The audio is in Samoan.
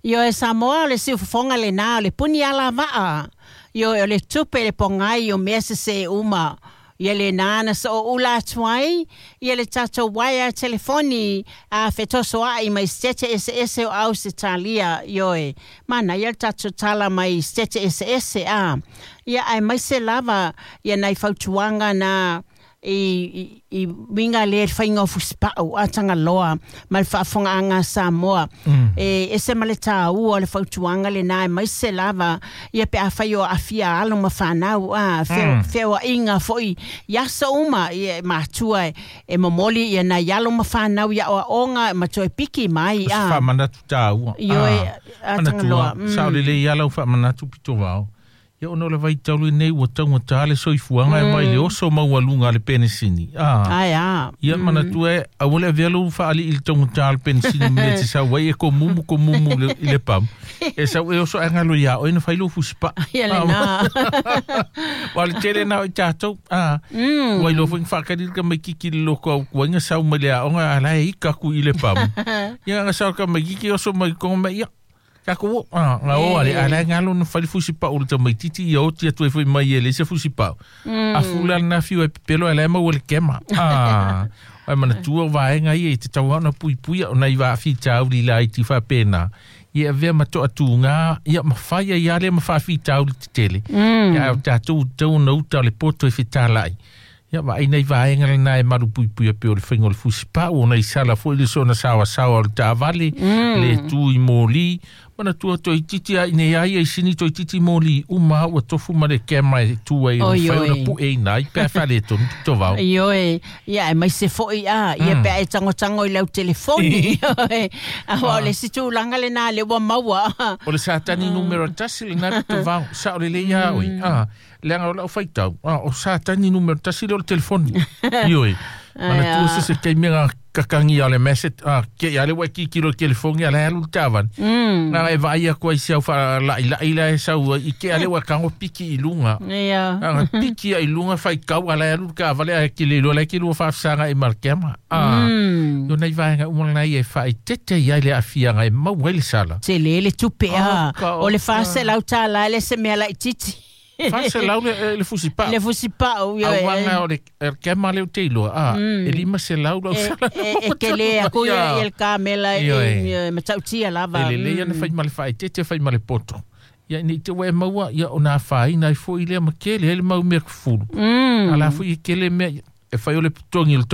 Ioe Samoa o le siufofoga lenā o le puni alavaa. Ioe o le tupe le pogai o mea sesē uma. Ia lenā na so'oula atu ai ia le tatou uaea telefoni a fetosoa'i mai Setete eseese o Ausetalia. Ioe, manaia le tatou tala mai Setete eseese a. Ia aemaise lava ia nai fautuaga na i uiga lea i le faiga o fusipa'u a Tagaloa ma le faafofogaaga a Samoa. E ese ma le tāua o le fautuaga lenā aemaise lava ia pe afai o aafia alo ma fanau a feoa'iga fo'i i aso uma ia matua e momoli ia nai alo ma fanau i aoaʻoga ma toe piki mai O se a. faamanatu tāua. Ioe, a Manatua, Tagaloa. sao lelei lava lau faamanatu pitovao. Ia ona o le vaitau lenei ua taugata le soifuaga e mai le oso maualuga a le penesini. Ae a. Ia manatua e aua le avea lou faalii i le taugata o le penesini mea e te sau ai e komumu komumu i le pamu. E sau e oso ae galo iā oe na fai lou fusipaa. Ia lenā. Aua o le tele lena o i tatou. Ua iloa foi na faatali le tamaititi i le loko autuaiga sau mai le aoga a la e ika atu i le pamu. Ia na sau le tamaititi oso mai totonu mai ia. Tatou o, na o ale, a la e galo na fai le fusipau o le tamaititi ia oti atu ai foi mai e leai se fusipau. A fula lena fiu ai pepelo ae la e maua i le kema. Ae manatua o vaega ia i te tau ona puipuia o nai vaafitauli laiti faapena. Ia avea ma toatuga, ia ma fai ai lava lea ma faafitauli tetele. Ia ae o tatou tatau ona uta o le poto e fetalai. Ia vaai nai vaega lena e malu puipuia pei o le faiga o le fusipau ona i sala foi le soona saoasaoa o le taavale, le tu i moli. Manatua toeitiiti lava i inei lava ia i sini toeitiiti moli uma lava ua tofu ma le kema e tu ai e mafai ona pueina ai pe a faaletonu pitovao. Ioe, ia aemaise foi a, ia pe a e tagotago i lau telefoni. Ioe, aua o le isi tulaga lenā lea ua maua. O le Satani numera tasi lenā pitovao, sao lelei lava oe. Leaga o lau faitau, o Satani numera tasi lea o le telefoni. Ioe, manatua se se taimi na kakagi o le message, ke ia le ua e tilotilo i le telefoni a la e alu le taavale. Na e vaai atu ai i si au faala'ilai la e sau ai, i ke a le ua tago piki i luga. Na piki ai i luga faitau a la e alu le taavale ae te le iloa la e te lua faafesaga'i ma le kema. O nai vaega uma lenei e faaeteete ai le aafiaga e maua ai le sala. Tele le tupe a. O le $400 e le o se mea laitiiti. 400 le fusipau. Le fusipau, ioe. Auaga o le kema lea ou te iloa, e 500 lau sala. E tele aku ia le kamela e matautia lava. E lelei ona fai ma le faaeteete fai ma le poto. Ia ina i te ua e maua, ia ona afaina ai foi lea ma tele ai le mau mea fulu. A la foi e tele mea e fai o le totogi o le